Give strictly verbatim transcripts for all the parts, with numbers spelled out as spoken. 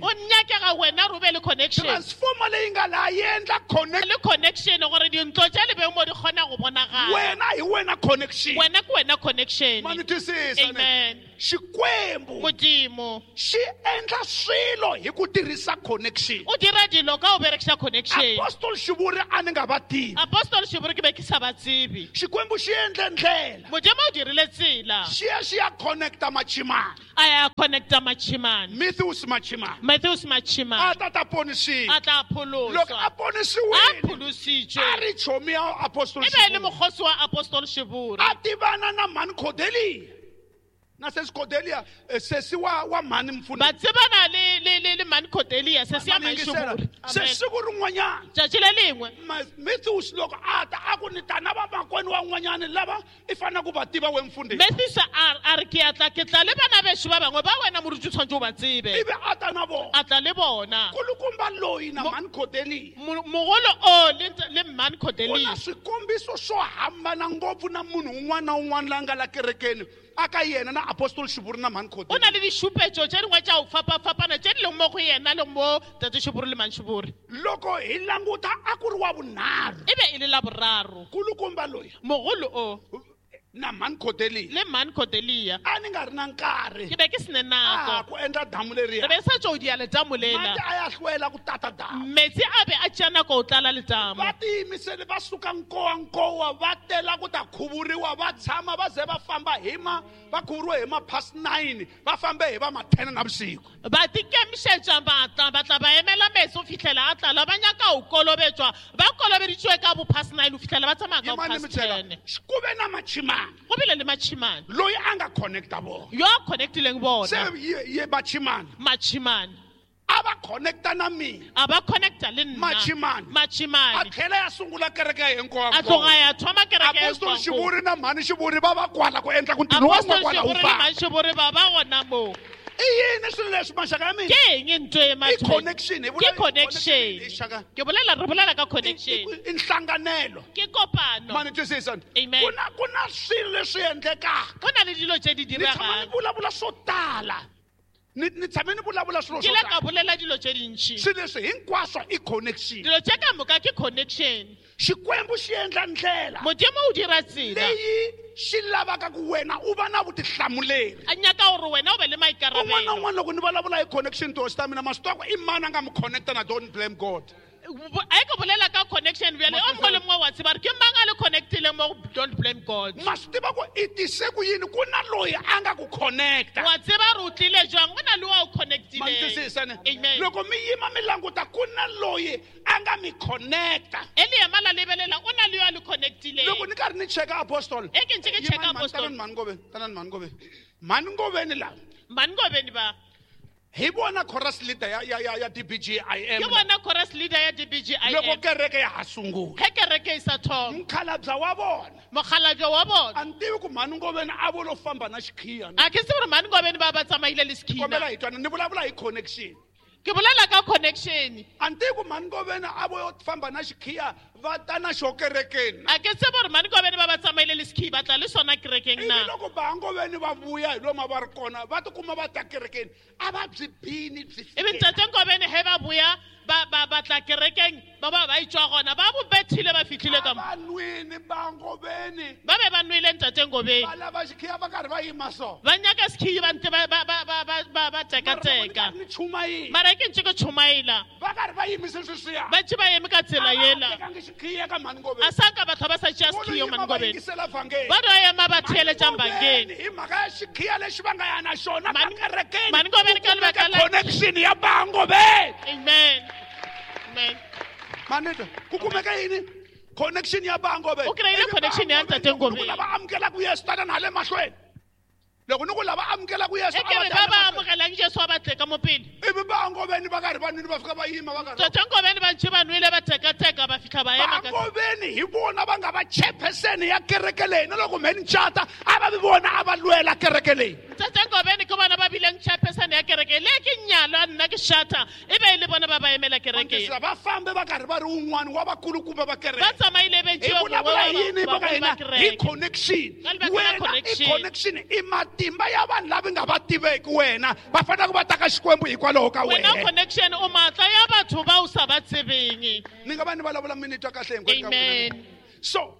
O nyakega wena re o be le connection. Transformer leyi nga laha yi endla connect. Le connection gore dintlo tša le beng mo di kgona go bonagala. Wena hi wena connection. Wena ke wena connection. Ma ni twisisa ne? Amen. Xikwembu Modimo xi endla swilo hi ku tirhisa connection. O dira dilo ka o berekisa connection. Apostle Shivuri a ni nga va tivi. Apostle Shivuri ke be ke sa ba tsebe. Xikwembu xi endle ndlela. Modimo o dirile tsela. Xi ya xi ya connecta Machimana. A ya connecta Machimana. Matthews Machimana. Matthews Machimana. A ta ta ponisiwa. A tla pholoswa. Loko a ponisiwile, A pholositswe. A ri chomi ya Apostle E be e le Shivuri. mokgosi wa Apostle Shivuri. A tivana na mhani Cordelia. Na sesi Cordelia, eh, sesi wa, wa mhani Mfundhisi. Ba tsebana le, le, le, le mhani Cordelia, sesi ya Mhani mhani yingisela. Shivuri. Se Amen. siku rin'wanyana. Tšatši le lengwe. Ma-, Matthews loko a ta, a ku ni ta na vamakwenu van'wanyana lava i faneleke ku va tiva we mfundhisi. Matthews a, a re ke a tla, ke tla le bana bešo ba bangwe ba wena moruti o tshwanetse o ba tsebe. Ivi a ta na vona. A tla le bona. Kulukumba loyi na Mo- mhani Cordelia. Mo-, mogolo o le nt-, le mhani Cordelia. Ku na swikombiso swo hambana ngopfu na munhu un'wana na un'wana la nga la kerekeni a ka yena na Apostle Shivuri na mhani Cordelia. O na le dišupetšo tše dingwe tša go fapafapana tše di leng mo go yena le mo Tate Shivuri le mhani Shivuri. Loko hi languta a ku ri wa vunharhu. E be e le la boraro. Kulukumba loyi. Mogolo o. Na mhani Cordelia. Le mhani Cordelia. A ni nga ri na nkarhi. Ke be ke sene nako. A ku endla damu leriya. Re be sa tšo dia letamo lela. Mati a ya hlwela ku tata damu. Metsi a be a tšea nako ho tlala letamo. Va tiyimisele va suka nkowankowa va tela ku ta khuvuriwa va tshama va ze va famba hi ma, va khuvuriwe hi ma past nine, va fambe hi va ma ten navusiku. Ba tikemišetša ba tla, ba tla ba emela metsi ho fihlela a tlala, ba nyaka ho kolobetswa. Ba kolobeditšwe ka bo past nine ho fihlela ba tsamaya ka Yimani past mi byela, ten. ku ve na Machimana. Go bile le Machimana. Loyi a nga connecta vona. Yo a connectileng bona. Se ye, ye Machimana. Machimana. A va connecta na mina. A va connecta le nna. Machimana. Machimana. A tlhela ya sungula kereke ya hinkwayo. A tloga ya thoma kereke ya Apostle hinkwayo. Shivuri na mhani Shivuri va va kwala ku endla ku ntirho wa Apostle n'wa kwala wu Shivuri le famba. mhani Shivuri va va gona mo. I yini swilo leswi maxaka ya mina? Ke eng ntho e I mathwe? connection, hi Ke vula connection. i xaka. Ke bolela, re bolela ka I, connection. i, i nhlanganelo. Ke kopano. Mani twisisa? Amen. Ku na, ku na swilo leswi endlekaka. Go na le dilo tse di Ni tshama ni diregang. vulavula swo tala. Ni, ni tshame ni vulavula swilo Ke swo ile ka tala. bolela dilo tse dintši. Swilo leswi hinkwaswo i connection. Dilo tse ka moka ke connection. Xikwembu xi endla ndlela. Modimo o dira tsela. Leyi xi lavaka ku wena u va na vutihlamuleri. A nyaka gore wena o be le maikarabelo. Un'wana na un'wana loko ni vulavula hi connection tihosi ta mina, ma swi tiva ku i mani a nga mi connecta na don't blame God. Bo-, a ke bolela ka connection bjale, o mongwe le mongwe wa tseba gore ke mang a le connectileng mo go don't blame God. Ma swi tiva ku i tise ku yini, ku na loyi a nga ku connecta. Wa tseba gore o tlile jwang, go na le wa o connectileng. Ma ni twisisa ne? Amen. Loko mi yima mi languta, ku na loyi a nga mi connecta. E le ema la lebelela, o na le yo a le connectileng. Loko ni karhi ni cheka Apostle. E ke ntse ke cheka Yimani, mani, Apostle. tanani mhani Ngoveni, tanani mhani Ngoveni. Mhani Ngoveni lava. Mhani Ngoveni ba. Hi vona chorus leader ya, ya, ya, ya D B G I M. Ke bona chorus leader ya D B G I M. Loko kereke ya ha sungula. Ge kereke e sa thoma. Mokgalabje wa bona. Mokgalabje wa bona. A ni tivi ku mhani Ngoveni a vo lo famba na xikhiya. A ke tsebe gore mhani Ngoveni ba ba tsamaile le xikhiya. Kombela hi twana, ni vulavula hi connection. Ke bolela ka connection. A ni tivi ku mhani Ngoveni a vo yo famba na xikhiya va ta na xo kerekeni. A ke tsebe gore mhani Ngoveni ba ba tsamaile le xikhiya ba tla le sona kerekeng Ivi na. loko ba Ngoveni va vuya hi lomu va ri kona, va tikuma va ta kerekeni, a va byi bini byi Ivi fikela. ntate Ngoveni he ba buya, ba, ba, ba tla kerekeng, ba ba ba itswa gona, ba bo bethile ba fihlile ka mo. A va nwini ba Ngoveni. Ba be ba nwele ntate Ngoveni. Va lava xikhiya va karhi va yima so. Ba nyaka xikhiya ba ntse ba, ba, ba, ba, ba, ba, ba tekateka. Mara loko ni karhi ni chumayela. Mara ke ntse ke chumayela. Va karhi va yimise sweswiya. Ba ntse ba eme ka tsela A va yela. tekangi xikhiya ka mhani Ngoveni. A sa ka batho ba sa tšea Volo xikhiya yima mhani va Ngoveni. yingisela vhangeli. Ba do ema ba theeletša Mhani vhangeli. Ngoveni, hi mhaka ya xikhiya lexi va nga ya na xona ka Mhani kerekeni, Mhani Ngoveni ka ku kumeka lebaka la connection ya ba Ngoveni. Amen. Amen. Manito, ku kumeka yini? Connection ya ba Ngoveni. O kry-ile Ivi ba connection ya Ngoveni ntate loko Ngoveni. lava amukelaka Yesu tana na le mahlweni. Loko ni ku lava amukelaka Yesu, E ke a va re tana ba ba mahlweni. amogelang Jesu a ba tle ka mo pele. Ivi ba Ngoveni va karhi va nwile va fika va yima va karhi. Ntate Ngoveni ba ntse ba nwele ba tekateka ba fitlha ba Ba ema ka Ngoveni hi vona va nga va chairperson ya kereke leyi, na loko mhe ni cata, a va vi vona a va lwela kereke leyi. Ntate Ngoveni ke bona ba bileng chairperson ya kereke le ke nyalwa nna ke shata, e be e le bona ba ba emela kereke. Mantisa, va fambe va karhi va ri un'wana wa vakulukumba va kereke. Ba tsamaile be Hi ntse ba vulavula bua yini ba va ka ba hina? Hi kereke. connection. Ka lebaka la Wena i connection. connection i matimba ya vanhu lava nga va tiveki wena, va fanele ku va ta ka Xikwembu hikwalaho hikokwalaho ka Wena wena connection o matla ya batho ba o sa ba tsebeng. Ni nga va ni vulavula mi ni twa kahle hinkwenu ka Amen. n'wina. So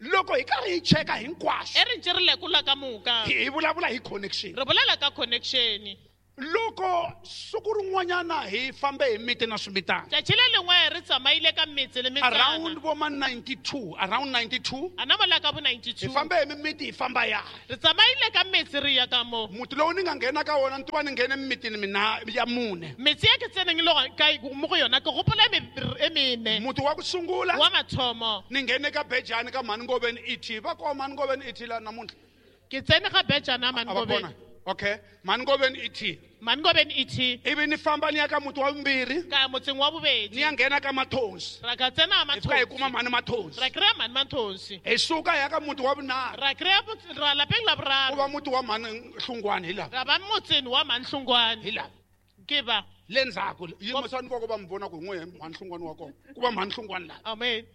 loko hi karhi hi cheka hinkwaswo E re ntse re lekola ka moka. hi hi vulavula hi connection. Re bolela ka connection. Loko siku rin'wanyana hi fambe hi miti na swimitana. Tšatši le lengwe re tsamaile ka metse le Around metsana. vo ma ninety-two, around ninety-two. A na mola ka bo Hi ninety-two. fambe hi mimiti hi famba ya. Re tsamaile ka metse re ya ka mo. Muti lowu ni nga nghena ka wona ni tiva ni nghene mimitini mina ya mune. Metse ya ke tseneng le go- ka mo go yona ke gopola e me- e mene. Muti wa ku sungula Wa mathomo. ni nghene ka Bejani ka Mhani Ngoveni E T. Va koho Mhani Ngoveni E T la namuntlha? Ke tsene ga Bejana A Mhani va Ngoveni. kona? Okay, Mhani Ngoveni E T. Mhani Ngoveni E T. Ivi ni famba ni ya ka muti wa vumbirhi. Ka ya motseng wa bobedi. Ni ya nghena ka Mathonsi. Ra ka tsena Hi fika hi Mathonsi. kuma Mhani Mathonsi. Ra kry-a Mhani Mathonsi. Hi suka hi ya ka muti wa vunharhu. Ra kry-a motse-, ra lapeng la boraro. Ku va muti wa Mhani Hlungwani hi laha. Ra ba motseng wa Mhani Hlungwani. Hi laha. Ke ba. Le ndzhaku, yimisani voko va mi vona ku hi n'we Mhani Hlungwani wa kona. Ku va Mhani Hlungwani laha. Amen.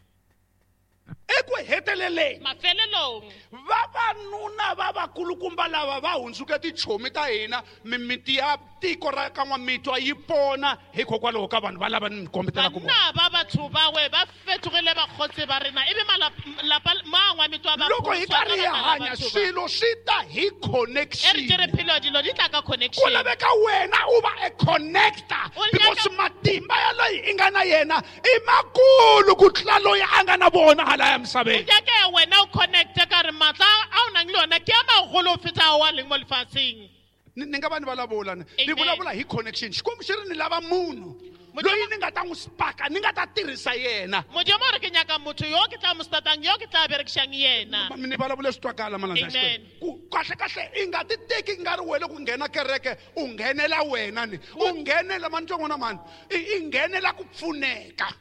Eku heteleleni, Mafelelong. vavanuna va vakulukumba lava va hundzuke tichomi ta hina, mimiti ya tiko ra ka N'wamitwa yi pona hikokwalaho ka vanhu va lava ni mi kombetelaka vona. Banna ba batho ba we ba fetogile bakgotsi ba rena, ebe malap-, lapa ma N'wamitwa ba Loko hi phuswa karhi hi ka baka la hanya, batho ba. swilo swi ta hi E re connection. tse re phelo dilo di tla ka Ku connection. laveka wena u va a connector, O nyaka because matimba ya loyi i nga na yena i makulu ku tlula loyi a nga na vona hala ya misaveni. O nyaka wena o connecte ka re matla a o nang le ona ke a magolo ho feta ao a leng mo lefatsheng. Ni, ni nga va ni vulavula ni. Ni Amen. vulavula hi connection. Xikwembu xi ri ni lava munhu Modimo loyi ni nga ta n'wi spaka, ni nga ta tirhisa yena. Modimo o re ke nyaka motho yo ke tla mo statang, yo ke tla berekisang yena. Ma-, ni vulavula swi twakala malandza ya Amen. Xikwembu. Ku kahle kahle i nga ti teki nga ri wena ku nghena kereke, u nghenela wena ni. U nghenela mani twa n'wana mani, i, i nghenela ku pfuneka.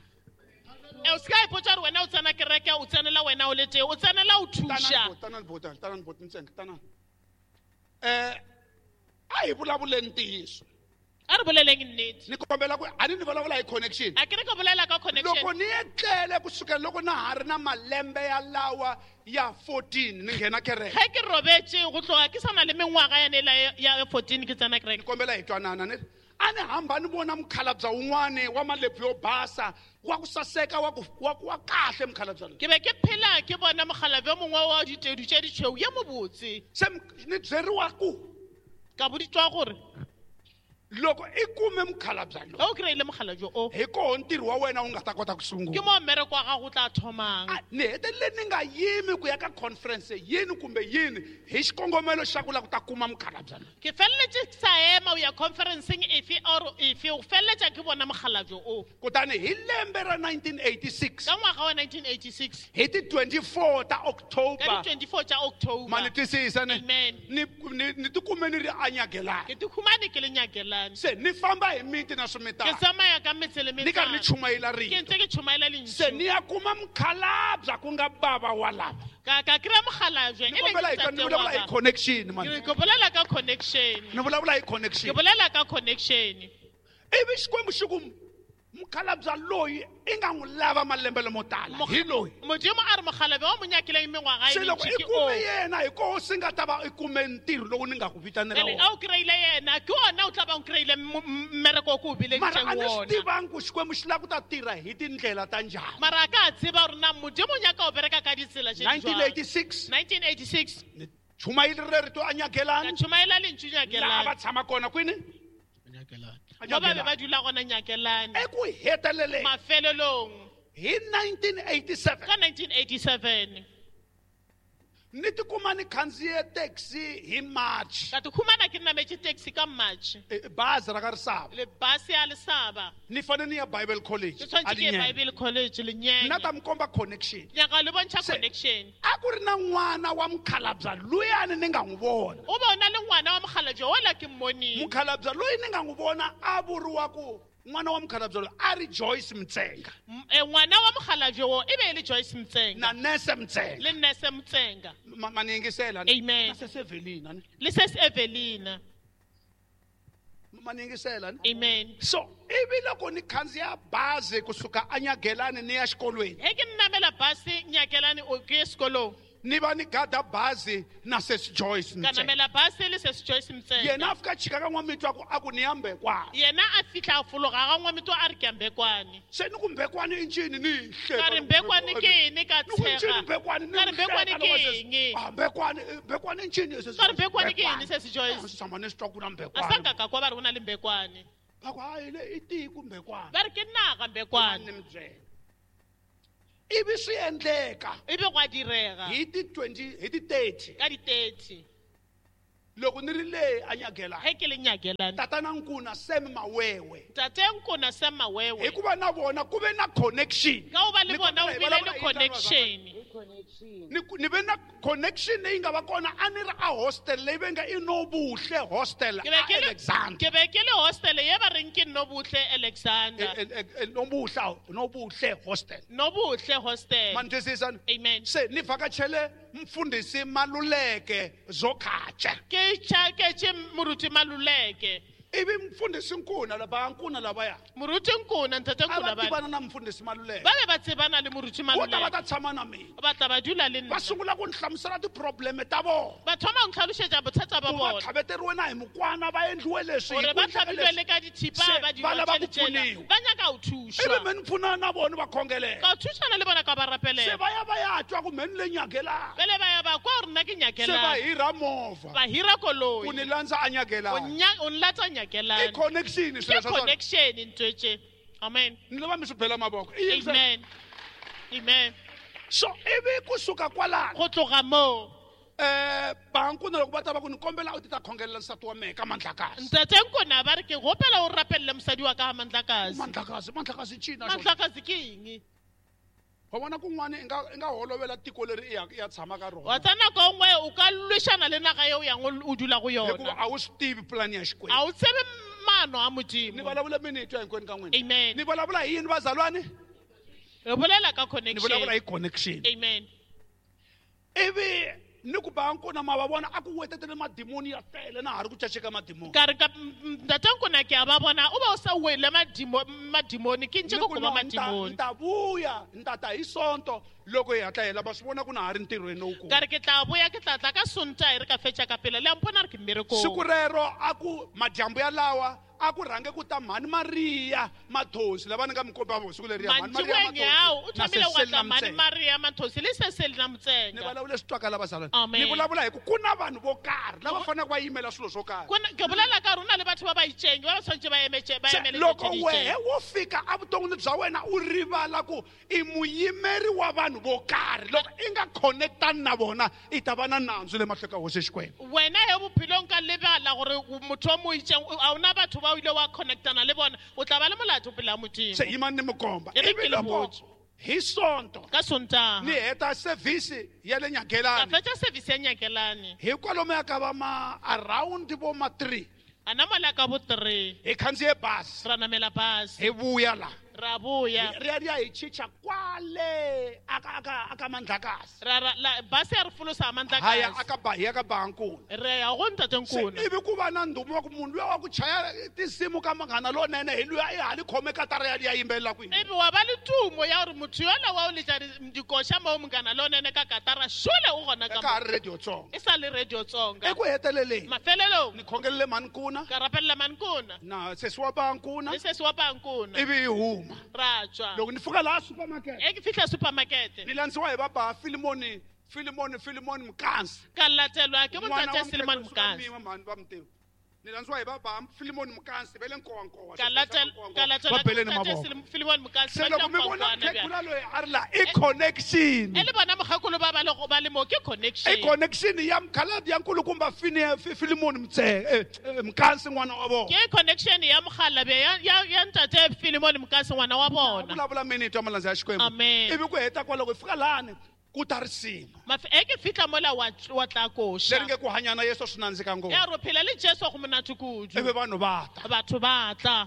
E, o se ka ipotsa hore wena o tsena kereke, o tsenela wena o le teng, o tsenela ho thuša. Tanani bota, tanani bota, ntsena, tanani. Eh, a hi vulavuleni ntiyiso. A re boleleng nnete. Ni kombela ku a ni ni vulavula hi connection. A ke re ke bolela ka connection. Loko ni etlele kusukela loko na ha ri na malembe ya lawa ya fourteen ni nghena kereke. Ge ke robetse go tloga ke sa na le mengwaga ya nela ya, ya fourteen ke tsena kereke. Ni kombela hi twanana ni. A ni hamba ni vona mukhalabye wun'wani wa malepfu yo basa, wa ku saseka, wa ku, wa ku, wa kahle mukhalabye loyi. Ke be ke phela ke bona mokgalabje o mongwe wa ditedu tše ditšhweu ye mobotse. Se m-, ni byeriwa ku Ka boditswa gore loko i kume mukhalabye loyi, Ge o kry-ile mokgalabje o, hi koho ntirho wa wena wu nga ta kota ku sungula. Ke mo mmereko wa gago o tla thomang. A, ni hetelele ni nga yimi ku ya ka conference yini kumbe yini hi xikongomelo xa ku lava ku ta kuma mukhalabye loyi. Ke feleletše ke sa ema ho ya conferenceng efe or efe, ho feleletša ke bona mokgalabje o. Kutani hi lembe ra nineteen eighty-six, Ka ngwaga wa nineteen eighty-six, hi ti twenty-four ta October, ka di twenty-four tša October. Ma ni twisisa ne? Amen. Ni, ni, ni tikume ni ri anyagelani. Ke tikhumane ke le nyagelani. Se ni famba hi miti na swimitana. Ke tsamaya ka metse le Ni karhi ni metsana. chumayela Ke rito. ntse ke chumayela lentswe. Se ni ya kuma mukhalabye ku nga bava wa lava. Ka, ka kry-a mokgalabje, Ni e leng kombela hi ntate ni vulavula wa hi ka. connection, man. Ke bolela ka connection. Ni vulavula hi connection. Ke bolela ka connection. Ivi Xikwembu xi ku mukhalabye loyi i nga n'wi lava malembe lamo tala Mokg- hi loyi. Modimo a re mokgalabje wa mo nyakileng mengwaga e Se loko mentši i ke kume o. yena hi koho swi nga ta va i kume ntirho lowu ni nga ku vitanela Jwale, wona. a o kry-ile yena, ke ona o tla bang o kry-ile mo-, m-, mmereko o ko o Mara bileditseng a ni swi wona. tivangi ku Xikwembu xi lava ku ta tirha hi tindlela ta njhani. Mara a ka tseba hore na Modimo o nyaka ho bereka ka ditsela tse di jwang. nineteen eighty-six. nineteen eighty-six. Ni chumayerile rito a Nyagelani. Ka chumayela lentswe Laha Nyagelani. va tshama kona kwini? Nyagelani. Mo ba be ba dula gona Nyagelani. Eku heteleleni. Mafelelong. Hi nineteen eighty-seven. Ka nineteen eighty-seven. Ni tikuma ni khandziye taxi hi March. Ka tikhumana ke nametše taxi ka March. Eh, bazi ra ka Risava. Le basi ya Lesaba. Ni fanele ni ya Bible College. Ke tshwanetse ke ye Lenyenge. Bible College Lenyenge. Nna ta mi komba connection. Nyaka le bontšha Se, connection. a ku ri na n'wana wa mukhalabye luyani ni nga n'wi vona. O bona le ngwana wa mokgalabje ola ke mmoneng. Mukhalabye loyi ni nga n'wi vona a vuriwa ku n'wana wa mukhalabye loyi a ri Joyce Mtsenga. M-, eh, ngwana wa mokgalabje wo e be e le Joyce Mtsenga. Na Nese Mtsenga. Le Nese Mtsenga. Ma-, ma ni yingisela ni? Amen. Na sesi Evelina ni? Le sesi Evelina. Ma ni yingisela ni? Amen. So, ivi loko ni khandziya bazi kusuka eNyagelani ni ya xikolweni. He ke namela basi Nyagelani o ke ye sekolong. Ni va ni gada bazi na Sesi Joyce Ka Mtsenga. namela basi le Sesi Joyce Mtsenga. Yena a fika chika ka N'wamitwa ku a ku ni ya Mbekwana. Yena a fihla a fologa ga N'wamitwa a re ke ya Mbekwane. Se ni ku Mbekwane i ncini ni hi hleka Ka re Mbekwane ke eng ka Ni ku ncini tshega? Mbekwane ni Ka re Mbekwane hleka ke loko Sesi- eng? Ah, Mbekwane, eh, Mbekwane i ncini Sesi Ka re Mbekwane ke eng Mbekwane. Sesi Joyce? Ah, tshama ni swi twa ku na A Mbekwane. sa nka ka kwa ba re go na le Mbekwane. Ba ku, hayi, le i tiko Mbekwane. Ba re ke naga Mbekwane. Ni mi byela. Ivi swi endleka Ebe gwa direga. hi ti twenty, hi ti thirty. Ka di thirty. Loko ni ri le a Nyagelani. Ge ke le Nyagelani. Tatana Nkuna Sam Mawewe. Tate Nkuna Sam Mawewe. Hikuva na vona ku ve na connection. Ka hoba le Ni bona kombela o hi bile vulavula le hi connection. Ni ku-, ni ve na connection leyi nga va kona a ni ri a hostel leyi va nga i Nobuhle hostel Ke be a ke le- Alexander. ke be ke le hostel ye ba reng ke Nobuhle Alexander. E, e, e, Nobuhle, Nobuhle hostel. Nobuhle hostel. Ma ni twisisa ni? Amen. Se ni vhakachele mfundhisi Maluleke Zokhatshe. Ke tšhaketše moruti Maluleke. Ivi mfundhisi Nkuna lava Nkuna lavaya. Moruti Nkuna, ntate A va Nkuna ba. tivana na mfundhisi Maluleke. Ba be ba tsebana le moruti Vo ta va Maluleke. ta tshama na mina. Ba tla ba dula le nna. Va sungula ku ni hlamusela ti-problem ta vona. Ba thoma go ntlhalošetša bothata ba Ku va bona. tlhaveteriwe na hi mukwana, va endliwe leswi, Gore hi ba ku endleka tlhabilwe leswi. le ka dithipa, Se, ba va dirwa lava ku tšele tšela. pfuniwa. Ba nyaka go thušwa. Ivi me ni pfunana na vona va khongelela. Ka thušana le bona ka ba Se rapelela. va ya va ya twa ku me ni le Nyagelani. Bjale ba ya ba kwa gore nna ke Se va Nyagelani. hira movha. Ba hira koloi. Ku ni landza a Nyagelani. O nya-, o nlatsa Nyagelani. I connection Ke swilo swa swona. connection ntho tše. Amen. Ni lava mi swi bela mavoko. I yini se- Amen. Amen. So ivi kusuka kwalano. Go tloga moo. Eh, ba Nkuna loko va ta va ku ni kombela u ti ta khongelela nsati wa mehe ka Mandlakazi. Ntate Nkuna ba re ke gopela o rapelele mosadi wa ka ga Mandlakazi. Mandlakazi, Mandlakazi i ncini na xona? Mandlakazi ke eng? Wa vona kun'wana i nga, i nga holovela tiko leri i ya, i ya tshama ka rona. Wa tsena nako nngwe o ka lwešana le naga eo yang o dula go yona. Hikuva a wu swi tivi plan ya Xikwembu. A wu tsebe maano a Modimo. Ni vulavula mini twa hinkwenu ka n'wina? Amen. Ni vulavula hi yini vazalwane? Re bolela ka Ni connection. vulavula hi connection. Amen. Ivi ni ku ba Nkuna ma va vona a ku wetetele madimoni ya tele na ha ri ku caceka madimoni. Ka re ka, m-, m-, ntate Nkuna ke a ba bona o ba o sa wele madimo-, madimoni ke ntse Ni ko ku koba no, nta- madimoni. nta vuya, nta ta hi Sonto loko hi hatla hi hela, va swi vona ku na ha ri ntirhweni lowukulu. Ka re ke tla boya, ke tla tla ka Sontaha e re ka fetša ka pele. Le a mpona re ke mmerekong. Siku rero a ku madyambu yalawa a ku rhange ku ta Mhani Maria Mathosi lava ni nga mi komba vona siku leriya, Mhani Maria Mantsiboeng yao, o Mathosi na thomile go Cecil tla Mhani Namtsenga. Maria Mathosi le Cecil Namtsenga. Ni vulavula swi twaka lava zalwana. Amen. Ni vulavula hi ku ku na vanhu vo karhi lava faneleke va yimela swilo swo karhi. Ku na, ke bolela ka rona le batho ba ba itseng, ba ba tshwanetse ba emetse, ba Se, emele loko dilo tse di wehe itseng. wo fika evuton'wini bya wena u rivala ku i muyimeri wa vanhu vo karhi, loko i nga connectani na vona i ta va na nandzu le mahlweni ka hosi Xikwembu. Wena he bophelong ka lebala gore motho o mo itseng, a ona batho ba o ile wa connectana le bona, o tla ba le molato pele ga Modimo. Se yimani ni mi komba. E re Ivi ke le loko botse. hi Sonto Ka Sontaha. ni heta service ya le Nyagelani. Ka fetša service ya Nyagelani. Hi kwalomuya ka va ma around vo ma three. A namola ka bo three. Hi khandziye bazi. Ra namela bazi. Hi vuya la. Ra vuya. Ri ya ri ya hi chicha kwale aka, aka, aka Mandlakazi. Ra, ra, la, basi ya re folosa Mandlakazi. Ha ya aka ba, ya ka Bankuna. Re ya go ntate Se, Nkuna. ivi ku va na ndhumo wa ku munhu luya wa ku chaya tinsimu ka Munghana Lonene hi luya i hali khome katara ya liya yimbelela kwini. Ivi wa ba le tumo ya gore motho yola wa o letša di-, dikoša mo Munghana Lonene ka katara, šole o gona ka Ka ha mo. ri Radio Tsonga. E sa le Radio Tsonga. Eku heteleleni. Mafelelong. Ni khongelele Mhani Nkuna. Ka rapelela Mhani Nkuna. Na sesi wa Bankuna. Le sesi wa Bankuna. Ivi hi huma. Ra tswa. Loko ni fika laha supermarket. E ke fihla supermarket. Ni landziwa hi baba Filimoni, Filimoni, Filimoni Mkansi. Ka latelwa ke N'wana bontate wa Filimoni Mkhekulu Mkansi. Suka Miwa, mhani va mi tiva. Ni landziwa hi baba Filimoni Mkansi, va le Nkowankowa. Ka latel-, ka latelwa Va ke beleni bontate mavoko. Filim-, Filimoni Mkansi, Se ba loko mi tla vona Nkowankowa mukhegula bjale. loyi a ri la, i connection. E le bona mokgekolo ba ba le go ba le mo, ke connection. I connection ya mokgalabje ya nkulukumba Fini-, Fi-, Filimoni Mtse-, eh, eh, Mkansi n'wana wa vona. Ke connection ya mokgalabje ya, ya, ya ntate Filimoni Mkansi ngwana wa bona. Vulavula minute ya malandza ya Xikwembu. Amen. Ivi ku heta kwaloko hi fika lani ku ta risimu. Maf-, e ke fihla mola wa tl-, wa tla koša. Leri nge ku hanya na Yesu swi nandzika ngopfu. Ya ro phela le Jesu go monate kudu. Ivi vanhu va ta. Batho ba tla.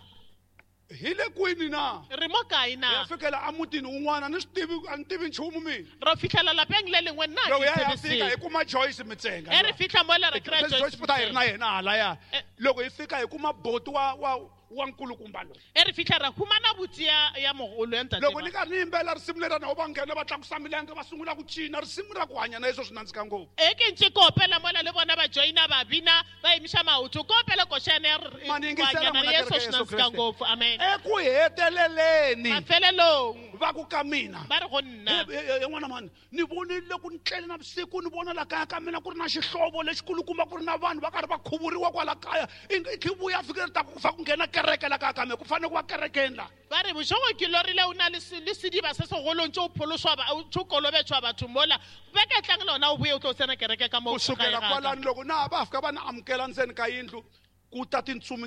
Hi le kwini na? Re mo kae na? Hi ya fikela emutini wun'wana, ni swi tivi, a ni tivi nchumu mina. Ro fihlela lapeng le lengwe nna Loko ke ya ya tsebe fika, selo. hi kuma Joyce Mtsenga. E re fihla mola re kry-a Joyce Joyce Joyce futhi a hi ri na Mtsenga. yena halaya. Eh. Loko hi fika hi kuma boti wa, wa, wa nkulukumba loyi E re fitlha ra humana buti ya ya mogolo ya ntate loko ba. ni karhi ni yimbelela risimu leri na va nghena va tlakusa milenge va sungula ku cina risimu ra ku hanya na yesu swi nandzika ngopfu E ke ntse ke opela mola le bona ba joina ba bina ba emiša maoto ke opela košana ya re- Ma ni yingisela ku hanya na n'wina Yesu kereke swi ya Yesu nandzika Kreste. ngopfu amen eku heteleleni mafelelong va ku ka mina ba re go nna n'wana mani ni vonile ku ni tlele na vusiku ni vona la kaya ka mina ku ri na xihlovo lexikulukumba ku ri na vanhu va karhi va khuvuriwa kwala kaya i nge- i khe vuya fike ri ta ku fa ku nghena kereke la kaya ka mina ku fanele ku va kerekeni la ba re bošego ke lorile o na le se- le sediba se segolo ntse o pholoswa ba- o ntse o kolobetšwa batho mola beke tlang le ona o boye o tlo tsena kereke ka mo ku sukela gae ga ka. kwalani loko na ha va fika va ni amukela ndzeni ka yindlu ku ta tintsumi